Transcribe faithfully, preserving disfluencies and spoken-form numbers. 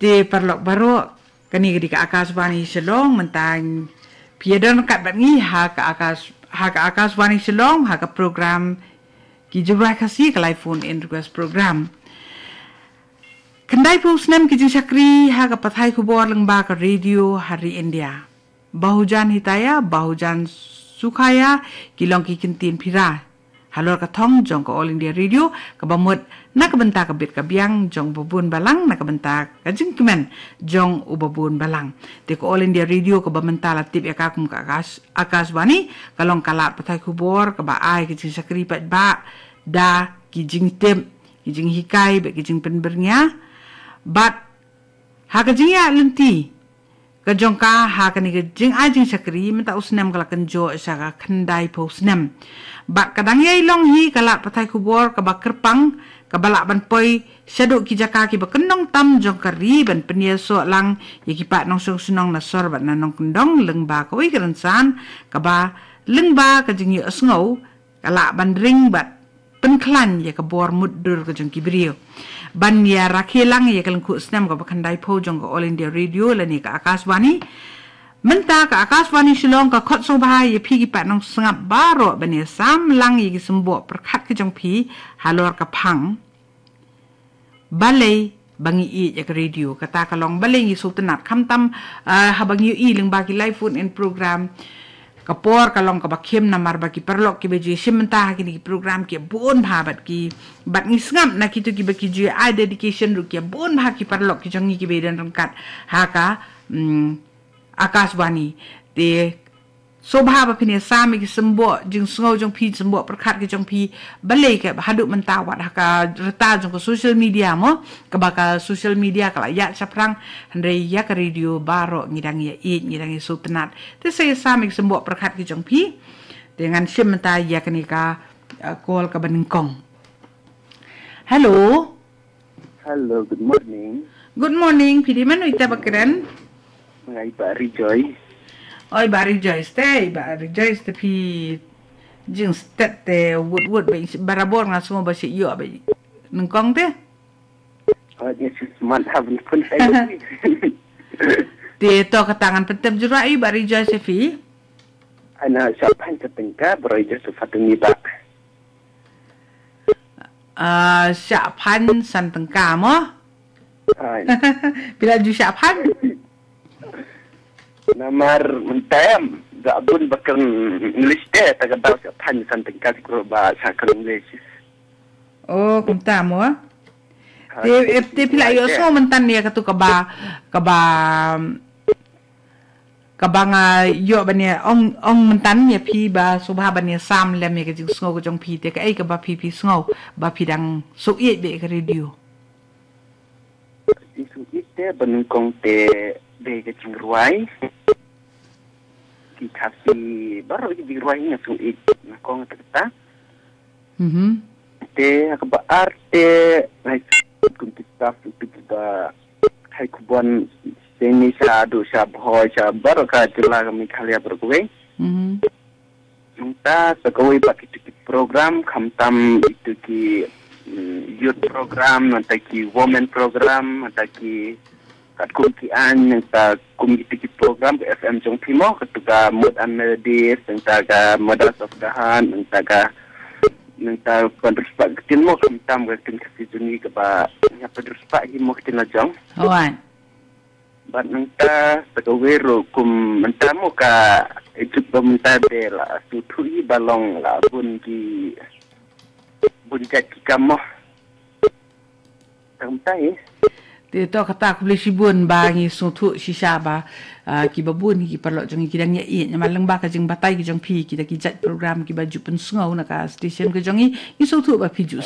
Te paralok baroh, kane ka dei ka Akashvani Shillong, mynta phi ïa don ryngkat bad ngi ha ka Akash, ha ka Akashvani Shillong, ha ka program Ki Jingrwai Khasi, ka live phone in request program. Khyndai phew snem ki jingshakri ha ka pathai khubor lyngba ka radio ha ri India. Bahujan Hitaya, Bahujan Sukhaya, ki long ki kyntien phi ra halor ka thong jong ka All India Radio, kaba mut na ka bynta ka bit ka biang jong u babun balang, na ka bynta ka jingkmen jong u babun balang. Te ka All India Radio kaba mynta la tip ïa ka kum ka Akash, Akashvani, ka long ka lad pathai khubor kaba ai ka jingshakri paidbah da ki jingtip, ki jinghikai bad ki jingpynbyrngia. Bad ha ka jingïaid lynti ka jong ka ha kane ka jingai jingshakri, mynta u snem ka la kynjoh sha ka khyndai phew snem. Bad ka dang ïai long hi ka lad pathai khubor kaba kyrpang, kaba lah ban poi shaduh ki jaka kiba kyndong tam jong ka ri, ban pynïasoh lang ïa ki paid nongshong shnong na sor bad na nongkyndong lyngba kawei ka rynsan kaba lyngba ka jingïohsngew ka lah ban ring bad pynkhlaiñ ïa ka bor mutdur ka jong ki briew. Ban ïa rakhe lang ïa ka lyngkhuh snem kaba khyndai phew jong ka All India Radio lane ka Akashvani. Mynta ka Akashvani Shillong ka khot sngewbha ïa phi ki paid nongsngap baroh ban ïa sam lang ïa ki symboh pyrkhat ka jong phi halor ka phang. Balei ba ngi ïeit ïa ka radio, kata ka long balei ngi sngewtynnat, khamtam, ah, haba ngi ïohi lyngba ki live phone in program. Ka por ka long kaba khim namar ba ki paralok kiba ju shim bynta ha kine ki program ki bun bha bad ki, bad ngi sngap na kito kiba ki ju ai dedication ruh ki bun bha ki paralok ki jong ngi kiba don ryngkat ha ka, mm, Akashvani. Te sngewbha ba phin ïa sam ïa ki symboh jingsngew jong phi, symboh pyrkhat ki jong phi, balei ka haduh mynta wat ha ka rta jong ka social media mo, kaba ka social media ka la ïaid shaphrang, hynrei ïa ka radio baroh ngi dang ïa ïeit, ngi dang ïa sngewtynnat. Te sa ïa sam ïa ki symboh pyrkhat ki jong phi. Te ngan shim mynta ïa kane ka, uh, call kaba nyngkong. Hello. Hello, good morning. Good morning, phi dei mano ita ba kren? Nga i Bah Rejoice. Oi, Bah Rejoice te, Bah Rejoice te phi jingstet te wut wut ba barabor nga sngew ba shi ïoh ba nyngkong te. Oh, yes, man ha bun pun saya. Te to kata ngan pyntip jurwa i Bah Rejoice phi. Ana shah phan sa tyngka, Bah Rejoice sa tyngka ba. Ah, shah phan san tyngka mo? Ai. Phi la ju shah phan? Namar mynta em, da bun ba kren English te, ta ka daw shah phan san tyngka, ti kru ba shah kren English. Oh, kumta mo? Ai, te, eh, te phi la ïohsngew mynta ïa katu kaba, kaba kaba nga ïoh ban ïa ong, ong mynta ïa phi ba sngewbha ban ïa sam lem ïa ka jingsngew ka jong phi, te kaei kaba phi phi sngew ba phi dang sngewthuh ïa ka radio. Jingsngewthuh te ba nyngkong te dei ka jingrwai. Ki Khasi baroh ki jingrwai nga sngewthuh nyngkong te kata. Mhm. Te ha kaba ar te, ngai kum kita, kita hai kubon seni sha du sha bhoi sha baroh ka jylla ka Meghalaya baroh kawei. Mhm. Mynta sa kawei ba kitu ki program, khamtam itu ki, mm, youth program, mynta ki women program, mynta ki katkum ki aiñ, nangta kum kitu ki program ka F M jong phi mo, katu ka Mood and Melodies, nangta ka Mothers of the Heart, nangta ka, nangta Pynrspah ka ktien mo, khamtam ka ktien Khasi jong ngi kaba nga pynrspah hi mo ka ktien la jong. Hooid. Bad nangta sa kawei ruh kum mynta mo ka ejut ba mynta de la sngewthuh hi ba long la bun ki bun jait ki kam mo. Tang mynta hi. Te to kata khublei shibun ba ngi sngewthuh shisha ba, ah, kiba bun ki paralok jong ngi ki dang ïa ïeit namar lyngba ka jingbatai ki jong phi kita ki jait program kiba ju pynsngew na ka station ka jong ngi, ngi sngewthuh ba phi ju